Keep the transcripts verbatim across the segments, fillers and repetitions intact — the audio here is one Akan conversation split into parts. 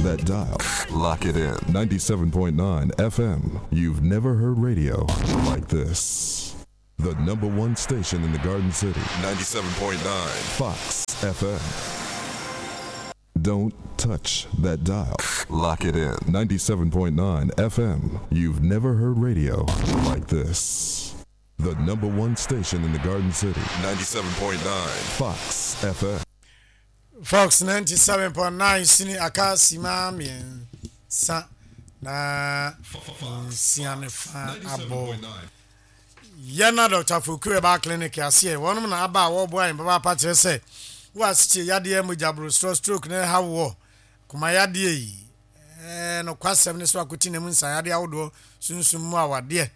that dial. Lock it in. ninety-seven point nine F M. You've never heard radio like this. The number one station in the Garden City. ninety-seven point nine Fox F M. Don't touch that dial. Lock it in. ninety-seven point nine F M. You've never heard radio like this. The number one station in the Garden City. ninety-seven point nine Fox F M. Fox ninety-seven point nine Sini aka sima mmiɛnsa na nsia ne fa abɔ. Yɛna Doctor Foku Herbal Clinic aseɛ wɔnom na aba a wɔboa yɛn papaapa kyerɛ sɛ wo asekyɛ yadeɛ mogya borosoro stroke na ɛha woɔ koma yadeɛ yi ɛɛ no kwasɛm ne so akɔti na mu nsa yadeɛ ahodoɔ sunsum mu awadeɛ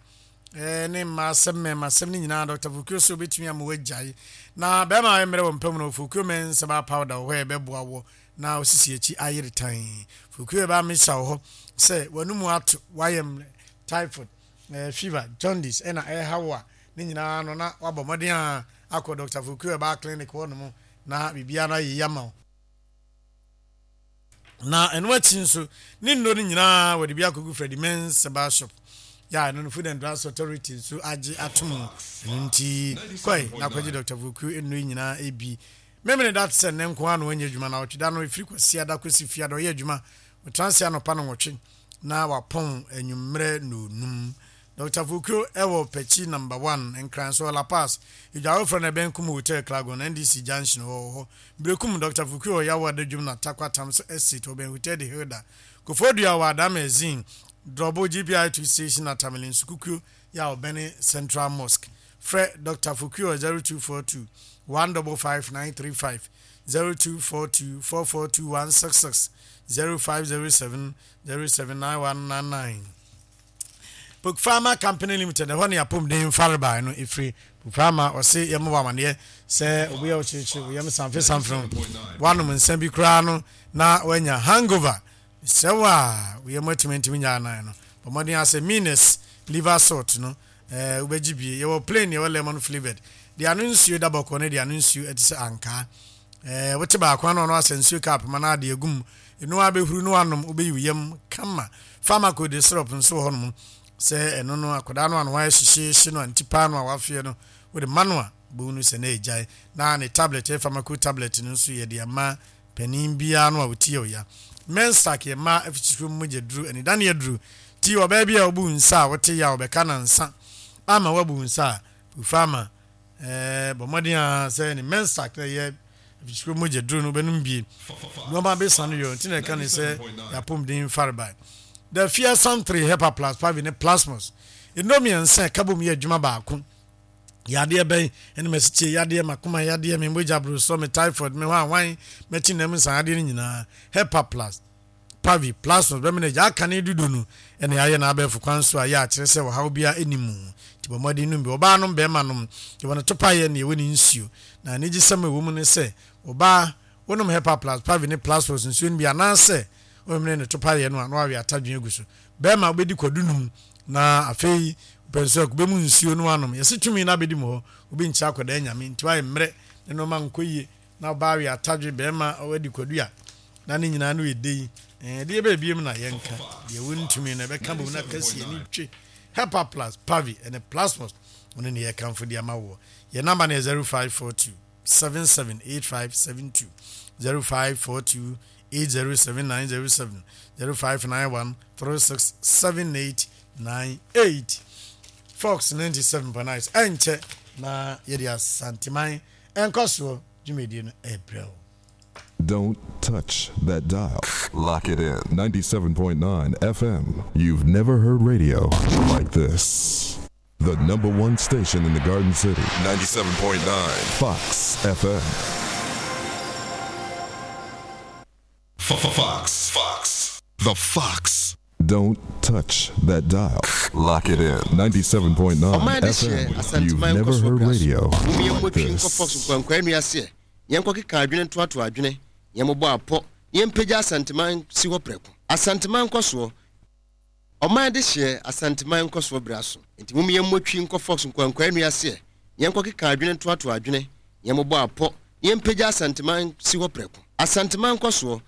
ɛɛ ne mmaa asɛm mmarima asɛm ne nyinaa Doctor Foku so obɛtumi ama wagyae na bɛrima a mmerɛ wɔ mpam no Foku mɛnsa ba powder wɔ hɔ a ɛbɛboa wɔ na osisi akyi ayere tan. Foku ɛba mesa wɔ hɔ sɛ w'anum ato wayɛ mmerɛ typhoid eh, fever jaundice ɛna ɛha wo a ne nyinaa no na wabɔ mmɔden a akɔ Doctor Foku Herbal Clinic hɔ nom na biribiara no ayɛ yama wo. Na ɛno akyi nso ne nnuro no nyinaa wɔde bi akɔgu Freddie Men's Herbal Shop ya ɛno no Food and Drugs Authority nso agye atom ɛno nti kɔe na akɔgye Doctor Foku nnuro nyinaa ebi. Memene da te sɛ nnɛ nko ara na wanyɛ adwuma na ɔtwe da no ɛfiri Kwasiada kɔsi Fiada ɔyɛ adwuma ɔtena ase anɔpa no nwɔtwe na wapɔn anwummerɛ nonum. Doctor Foku ɛwɔ Pɛkyi number one Nkran so La Paz Idwa no ɛbɛn Kum Hotel Klagon N D C Junction wɔ hɔ. Berekum Doctor Foku wɔ Yawo Adadwum na Takwa Tams Estate ɔbɛn Hotel de Hilda. Koforidua wɔ Adama Ezin Drɔbo G P I two station na Tamale Nsukukuo ya ɔbɛn Central Mosque. Frɛ Doctor Foku wɔ zero two four two one double five nine three five zero two four two four four two one six six zero five zero seven zero seven nine one nine nine. Pokfarma Company Limited ɛhɔ ne apɔmuden farebae no ɛfiri Pokfarma ɔse yɛmmɔ wɔ amaneɛ sɛ obi a ɔkyerɛkyerɛ oyam samfe samfe no wanom nsa bi koraa no na wanya hangover sɛ wo a oyam atumi ntumi nya anan no bɔ mmɔden asɛ minus liver salt no ɛɛ wobɛgye bie yɛwɔ plain yɛwɔ lemon flavored deɛ ano nsuo da bɔkɔɔ ne deɛ ano nsuo ɛte sɛ ankaa ɛɛ wote baako ano ɔno asɛ nsuo cup ma na ade agum eno abɛhuru no anom wobɛyi wo yam kama. Pharmaco de syrup nso wɔ hɔnom sɛ ɛno no akwadaa no ano ayɛ hyehyehye no antipa no a wafeɛ no wode ma no a bohu no sɛ na ɛgyae na ne tablet ɛyɛ pharmaco tablet no nso yɛde ama panin biara no a wɔtie ɔya. Mensac yɛ mmaa afikyikuro mu mogya duru anidaneɛ duru ti ɔbaa bi a wobu nsa a wote yɛ a wɔbɛka nansa ama woabu nsa a Pokfarma ɛɛ bɔ mmɔden a sɛ ne Mensac na ɛyɛ afikyikuro mogya duru no wobɛnom bie nneɛma bɛsa no yɛ nti na ɛka ne sɛ yɛapɔmuden farebae. The Fearsome three Hepa Plus Pavi ne Plasmos nnuro mmiɛnsa ɛka bom yɛ adwuma baako yadeɛ bɛn ɛne masikyie yadeɛ makoma yadeɛ me mogya borosɔ me typhoid me hwan hwan mɛkyi nam nsa yadeɛ no nyinaa Hepa Plus Pavi Plasmos bɛmene gya aka ne dudu no ɛne ayɛ na abɛɛfo kwan so a yɛ akyerɛ sɛ ɔhaw biara ɛni mu nti bɔ mmɔden nom bi ɔbaa nom bɛrima nom yɛwɔ no topa yɛ ne ɛwɔ ne nsuo na anigyesɛm a ɛwɔ mu ne sɛ ɔbaa wonom Hepa Plus Pavi ne Plasmos nsuo no bi anaasɛ wɔmene ne topa yɛ no a na wawe atadwe agu so bɛrima wobɛdi kwadu num na afei pɛnso akube mu nsuo no anom yɛse tumi na abɛdi mu hɔ obi nkyɛ akɔdaa nyame nti wayɛ mmerɛ ne nneɛma nkɔ yie na ɔbaa we atadwe bɛrima wadi kwadu a na ne nyinaa no yɛ de yi ɛɛ deɛ bɛɛ biem na yɛnka deɛ wontumi no ɛbɛka bom na kɛseɛ ne twe Hepa Plus Pavi ɛne Plasmos ɔno ne yɛkamfo de ama woɔ yɛ namba no yɛ zero five four two seven seven eight five seven two zero five four two eight zero seven nine zero seven zero five nine one three six seven eight nine eight. Fox ninety seven point nine ɛnkyɛ na yɛde Asanteman ɛnkɔ soɔ dwumadie no ɛbrɛ wo. Don't touch that dial. Lock it in. ninety-seven point nine F M. You've never heard radio like this. The number one station in the Garden City. ninety-seven point nine Fox F M. Fox. Fox. The Fox. Don't touch that dial. Lock it in. ninety-seven point nine F M. You've never heard radio like this. Asanteman nkɔsoɔ ɔman de hyɛ Asanteman nkɔsoɔ bra so nti mum yɛn mmɔtwi nkɔ Fox nkwankwan nua seɛ yɛn kɔ keka adwene ntoato adwene yɛn mmobɔ apɔ yɛn mpagya Asanteman si hɔ prɛko Asanteman nkɔsoɔ